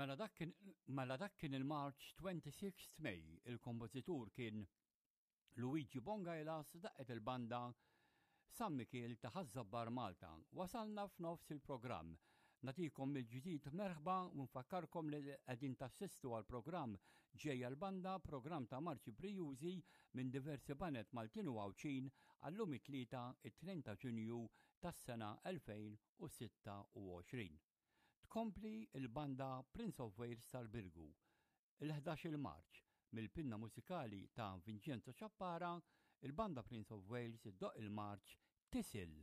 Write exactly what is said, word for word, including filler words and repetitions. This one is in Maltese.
Mela dak kien, mela dak kien il-March twenty-sixth May, il-kompożitur kien Luigi Bongailas, daqqet il-banda San Mikiel ta' Ħaż-Żabbar Malta. Wasalna f'nofs il-programm. Nagħtikom mill-ġdid merħba u nfakkarkom li qegħdin tassistu għal programm Ġejja l-Banda, programm ta' marċi brijużi minn diversi baned Maltin u Għawdxin għallum it-Tlieta, it-tnejn ta' Ġunju tas-sena elfejn u sitta u għoxrin. Tkompli il-banda Prince of Wales tal-Birgu, il-ħdax-il Marċ, mill-pinna mużikali ta' Vincenzo Ciappara, il-banda Prince of Wales iddoqq il-Marċ Tisil.